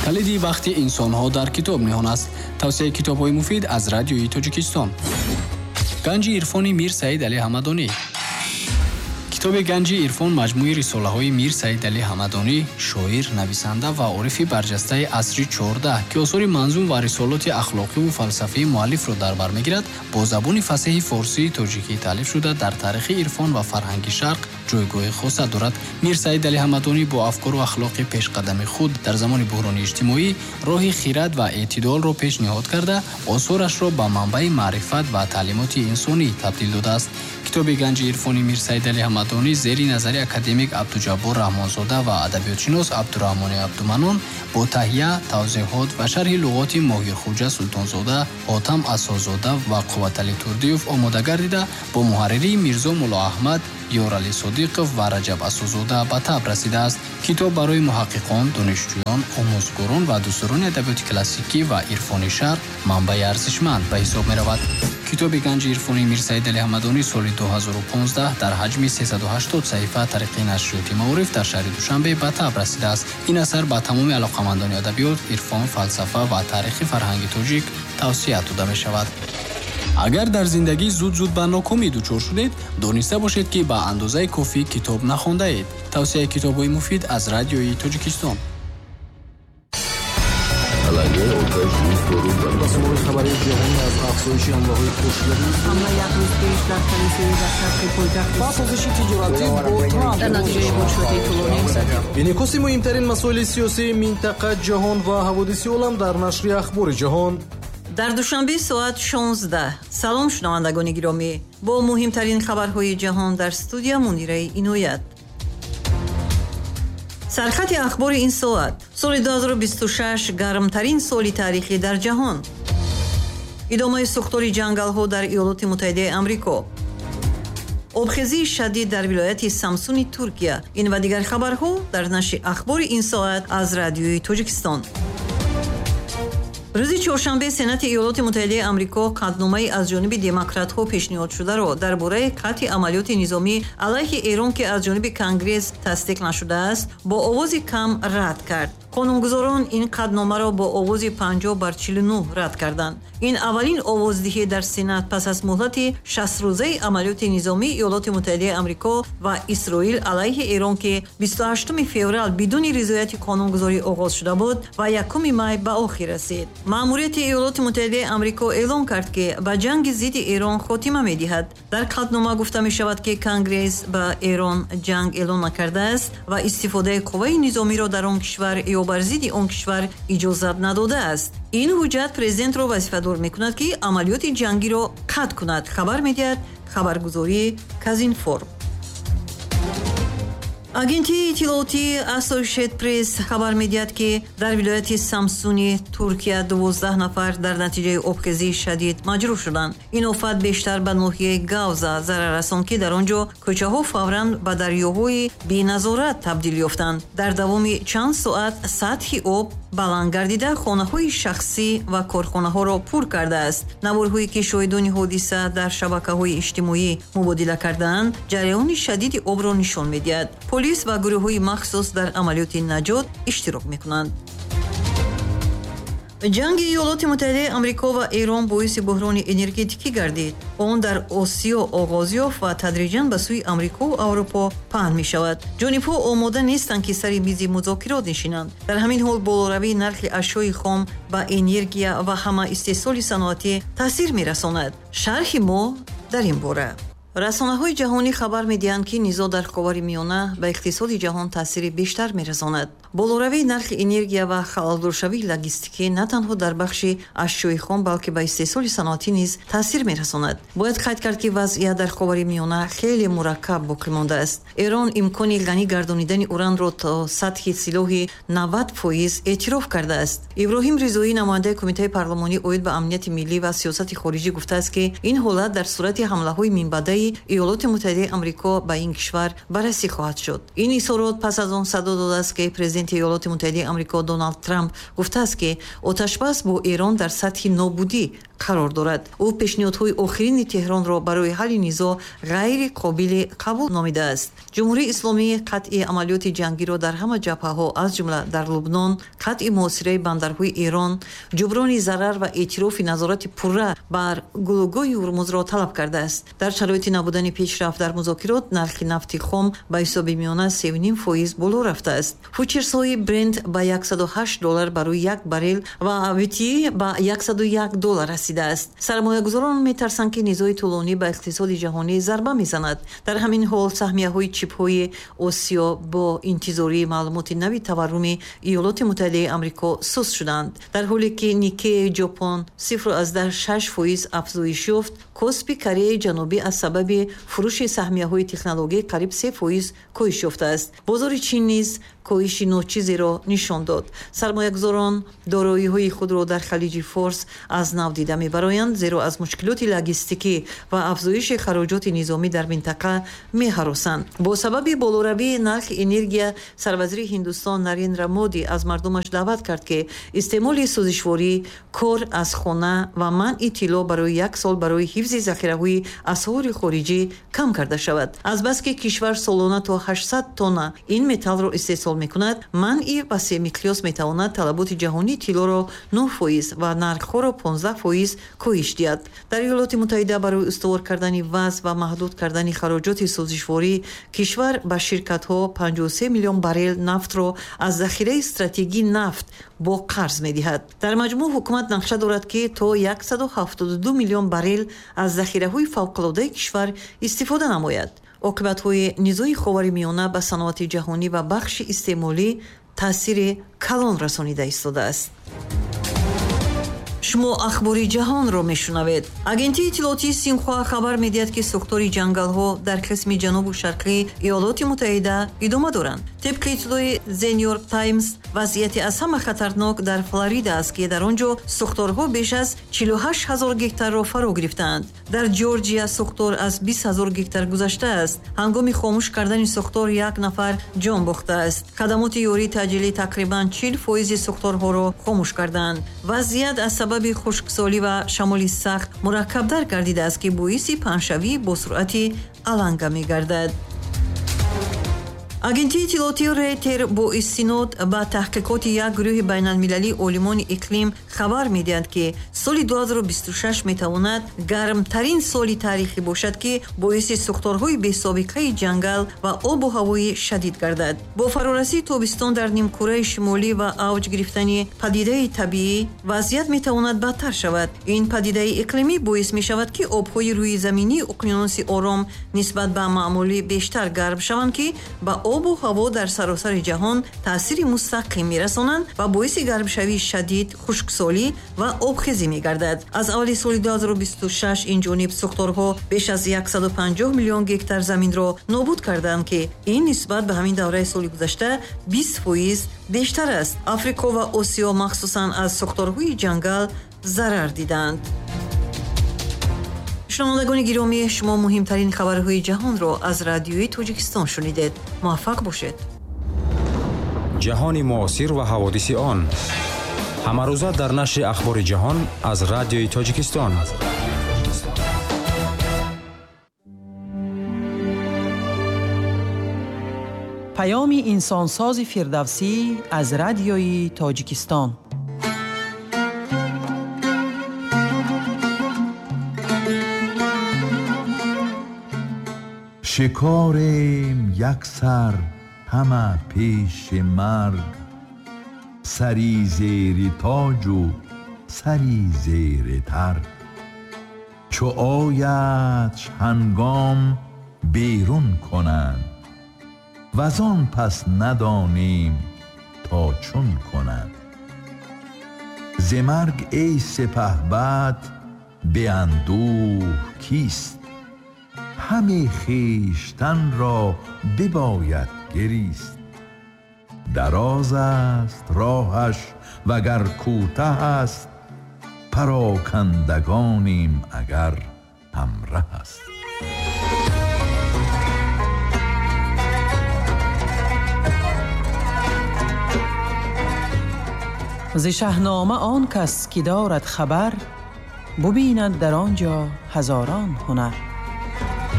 Калиди бахти инсонҳо дар китоб ниҳон аст. Тавсияи китобҳои муфид аз Радиои Тоҷикистон. Ганҷи ирфони Мир Саид Али Ҳамадонӣ. Китоби Ганҷи ирфон маҷмӯи рисолаҳои Мир Саид Али Ҳамадонӣ, шоир, нависанда ва орифи барҷастаи асри 14, ки осори манзум ва рисолоти ахлоқиву фалсафии муаллифро дар бар мегирад, бо забони фасеҳи форсии тоҷикӣ таълиф шуда, дар таърихи ирфон ва фарҳанги шарқ ҷойгоҳи хоса дорад. Мир Саид Али Ҳамадонӣ бо афкору ахлоқи пешқадами худ дар замони буҳрони иҷтимоӣ роҳи хирад ва эътидолро пешниҳод карда, осорашро ба манбаи маърифат ва таълимоти инсонӣ табдил додааст. Китоби Ганҷи ирфони Мир Саид Али Ҳамадонӣ зери назари академик Абдуҷаббор Раҳмонзода ва адабиётшинос Абдураҳмони Абдуманон бо таҳия, тавзеҳот ва шарҳи луғоти Моҳирхуҷа Султонзода, Ҳотам Асозода ва Қувватали Турдиев омода гардида, бо муҳарририи Мирзо Муллоаҳмад, Ёрали Содиқов ва Раҷаб Асозода ба таб расидааст. Китоб барои муҳаққиқон, донишҷӯён, омӯзгорон ва дӯстдорони адабиёти классикӣ ва ирфони шарқ манбаи арзишманд ба ҳисоб меравад. Китоби Ганҷи ирфони Мир Саид Али Ҳамадонӣ соли 2015 дар ҳаҷми 380 саҳифа тариқи нашриёти Маориф дар шаҳри Душанбе ба таб расидааст. Ин асар ба тамоми алоқамандони адабиёт, ирфон, фалсафа ва таърихи фарҳанги тоҷик тавсия дода мешавад. Агар дар зиндагӣ зуд-зуд ба нокомӣ дучор шудед, дониста бошед, ки ба андозаи кофӣ китоб нахондаед. Тавсияи китобҳои муфид аз Радиои Тоҷикистон. Расонаҳои хабарии ҷаҳонӣ аз афзоиши ҳамлаҳои пошидаи Ҳамла як рӯз пеш дар калисои дар шарқи пойтахт ва созиши тиҷоратӣ бо Трамп. Дар натиҷаи мушоҳидаи тӯлонӣ Инъикоси муҳимтарин масоили сиёсии минтақа, ҷаҳон ва ҳаводиси олам дар нашри Ахбори ҷаҳон. Дар Душанбе соат 16. Салом, шунавандагони гиромӣ. Бо муҳимтарин хабарҳои ҷаҳон дар студия Мунираи Иноят. Сархати ахбори ин соат. Соли 2026 гармтарин соли таърихӣ дар ҷаҳон. Идомаи сӯхтори ҷангалҳо дар Иёлоти Муттаҳидаи Амрико. Обхезии шадид дар вилояти Самсуни Туркия. Ин ва дигар хабарҳо дар нашри ахбори ин соат аз Радиои Тоҷикистон. Рӯзи чоршанбе Сенати Иёлоти Муттаҳидаи Амрико қатъномаи аз ҷониби демократҳо пешниҳодшударо дар бораи қатъи амалиёти низомӣ алайҳи Эрон, ки аз ҷониби Конгресс тасдиқ нашудааст, бо овози кам рад кард. Қонунгузорон ин қатъномаро бо овози 50 бар 49 рад карданд. Ин аввалин овоздиҳӣ дар Сенат пас аз муҳлати 60-рӯзаи амалиёти низомии Иёлоти Муттаҳидаи Амрико ва Исроил алайҳи Эрон, ки 28 феврал бидуни ризояти қонунгузорӣ оғоз шуда буд ва 1 май ба охир расид. Маъмурияти Иёлоти Муттаҳидаи Амрико эълон кард, ки ба ҷанги зидди Эрон хотима медиҳад. Дар қатънома гуфта мешавад, ки Конгресс ба Эрон ҷанг эълон накардааст ва истифодаи қувваи низомиро дар он кишвар ё бар зидди он кишвар иҷозат надодааст. Ин ҳуҷҷат президентро вазифадор мекунад, ки амалиёти ҷангиро қатъ кунад, хабар медиҳад хабаргузории Казинформ. Агентии иттилоотии Associated Press хабар медиҳад, ки дар вилояти Самсуни Туркия 12 нафар дар натиҷаи обхезии шадид маҷрӯҳ шуданд. Ин офат бештар ба ноҳияи Гавза зарар расонд, ки дар он ҷо кӯчаҳо фавран ба дарёҳои беназорат табдил ёфтанд. Дар давоми чанд соат сатҳи об баланд гардида, хонаҳои шахсӣ ва корхонаҳоро пур кардааст. Наворҳое, ки шоҳидони ҳодиса дар шабакаҳои иҷтимоӣ мубодила кардаанд, ҷараёни шадиди обро нишон медиҳад. Полис ва гурӯҳҳои махсус дар амалиёти наҷот иштирок мекунанд. Ҷанги Иёлоти Муттаҳидаи Амрико ва Эрон боиси буҳрони энергетикӣ гардид. Он дар Осиё оғоз ёфт ва тадриҷан ба сӯи Амрикову Аврупо паҳн мешавад. Ҷонибҳо омода нестанд, ки сари мизи музокирот нишинанд. Дар ҳамин ҳол болоравии нархи ашёи хом ба энергия ва ҳама истеҳсоли саноатӣ таъсир мерасонад. Шарҳи мо дар ин бора. Расонаҳои ҷаҳонӣ хабар медиҳанд, ки низоъ дар Ховари Миёна ба иқтисоди ҷаҳон таъсири бештар мерасонад. Болоравии нархи энергия ва халалдоршавии логистикӣ на танҳо дар бахши ашёи хом, балки ба истеҳсоли саноатӣ низ таъсир мерасонад. Бояд қайд кард, ки вазъият дар Ховари Миёна хеле мураккаб боқӣ мондааст. Эрон имкони ғанӣ гардонидани уранро то сатҳи силоҳи 90% эътироф кардааст. Иброҳим Ризоӣ, намояндаи Кумитаи парлумонӣ оид ба амнияти миллӣ ва сиёсати хориҷӣ, гуфтааст, ки ин ҳолат дар сурати ҳамлаҳои минбаъдаи Иёлоти Муттаҳидаи Амрико ба ин кишвар баррасӣ хоҳад шуд. Ин изҳорот пас аз он садо додааст, ки президенти Иёлоти Муттаҳидаи Амрико Доналд Трамп гуфтааст, ки оташбас бо Эрон дар сатҳи нобудӣ Қарор дорад. Ӯ пешниҳодҳои охирини Теҳронро барои ҳалли низоъ ғайри қобили қабул номидааст. Ҷумҳурии Исломӣ қатъи амалиёти ҷангиро дар ҳама ҷабҳаҳо, аз ҷумла дар Лубнон, қатъи муҳосираи бандарҳои Эрон, ҷуброни зарар ва эътирофи назорати пурра бар гулӯгоҳи Ҳурмузро талаб кардааст. Дар шароити набудани пешрафт дар музокирот, нархи нафти хом ба ҳисоби миёна 3,5% боло рафтааст. Фучерсҳои Брент ба 108 доллар барои як баррел ва WTI ба 101 доллар расидааст. Сармоягузорон метарсанд, ки низои тӯлонӣ ба иқтисоди ҷаҳонӣ зарба мезанад. Дар ҳамин ҳол, саҳмияҳои чипҳои Осиё бо интизории маълумоти нави таварруми Иёлоти Муттаҳидаи Амрико суст шуданд. Дар ҳоле ки Никеи Ҷопон 0,6% афзоиш ёфт, Коспи Кореяи Ҷанубӣ аз сабаби фурӯши саҳмияҳои технологӣ қариб 3% коҳиш ёфтааст. Бозори Чин низ коҳиши ночизеро нишон дод. Сармоягузорон дороиҳои худро дар Халиҷи Форс аз нав дида мебароянд, зеро аз мушкилоти логистикӣ ва афзоиши хароҷоти низомӣ дар минтақа меҳаросанд. Бо сабаби болоравии нархи энергия, сарвазири Ҳиндустон Нарендра Моди аз мардумаш даъват кард, ки истеъмоли сӯзишворӣ, кор аз хона ва манъи тилло барои як сол барои ҳифзи захираҳои асъори хориҷӣ кам карда шавад. Азбаски кишвар солона то 800 тонна ин металлро истеҳсол мекунад, манъи васеъмиқёс метавонад талаботи ҷаҳонии тиллоро 9% ва нархҳоро 15% коҳиш диҳад. Дар Иёлоти Муттаҳида барои устувор кардани вазъ ва маҳдуд кардани хароҷоти сӯзишворӣ, кишвар ба ширкатҳо 53 миллион баррел нафтро аз захираи стратегии нафт бо қарз медиҳад. Дар маҷмӯъ, ҳукумат нақша дорад, ки то 172 миллион баррел аз захираҳои фавқулодаи кишвар истифода намояд. Оқибатҳои низои Ховари Миёна ба саноати ҷаҳонӣ ва бахши истеъмолӣ таъсири калон расонида истодааст. Шумо Ахбори ҷаҳонро мешунавед. Агентии иттилоотии Синхуа хабар медиҳад, ки сӯхтори ҷангалҳо дар қисми ҷанубу шарқии Иёлоти Муттаҳида идома доранд. Тибқи иттилои The New York Times, вазъияти аз ҳама хатарнок дар Флорида аст, ки дар он ҷо сӯхторҳо беш аз 48 ҳазор гектарро фаро гирифтаанд. Дар Ҷорҷия сӯхтор аз 20 ҳазор гектар гузаштааст. Ҳангоми хомӯш кардани сӯхтор як нафар ҷон бохтааст. Хадамоти ёрии таъҷилӣ тақрибан 40 фоизи сӯхторҳоро хомӯш карданд. Вазъият аз сабаби хушксолӣ ва шамоли сахт мураккабтар гардидааст, ки боиси паҳншавӣ бо суръати аланга мегардад. Агентии иттилоотии Рейтер бо истинод ба таҳқиқоти як гурӯҳи байналмилалии олимони иқлим хабар медиҳад, ки соли 2026 метавонад гармтарин соли таърихӣ бошад, ки боиси сӯхторҳои бесобиқаи ҷангал ва обу ҳавои шадид гардад. Бо фарорасии тобистон дар нимкураи шимолӣ ва авҷ гирифтани падидаи табиӣ, вазъият метавонад бадтар шавад. Ин падидаи иқлимӣ боис мешавад, ки обҳои рӯизаминии уқёнуси Ором нисбат ба маъмулӣ бештар гарм шаванд, ки ба обу ҳаво дар саросари ҷаҳон таъсири мустақим мерасонанд ва боиси гармшавии шадид, хушксолӣ ва обхезӣ мегардад. Аз аввали соли 2026 ин ҷониб сӯхторҳо беш аз 150 миллион гектар заминро нобуд карданд, ки ин нисбат ба ҳамин давраи соли гузашта 20% бештар аст. Африқо ва Осиё махсусан аз сӯхторҳои ҷангал зарар диданд. Шунавандагони гиромӣ, шумо муҳимтарин хабарҳои ҷаҳонро аз Радиои Тоҷикистон шунидед. Муваффақ бошед. Ҷаҳони муосир ва ҳаводиси он ҳамарӯза дар нашри Ахбори ҷаҳон аз Радиои Тоҷикистон. Паёми инсонсози Фирдавсӣ аз Радиои Тоҷикистон. Шикорем як сар ҳама пеши марг, сари зери тоҷу сари зери тарг. Чу ояд ҳангом берун кунанд, вазон пас надонем то чун кунанд. Зи марг эй сипаҳбад беандӯҳ кист? Ҳаме хештанро бибояд гирист. Дароз аст роҳаш вагар кӯтаҳ аст, парокандагонем агар ҳамраҳ аст. Зи Шаҳнома он кас ки дорад хабар, Бубинад дар он ҷо ҳазорон ҳунар.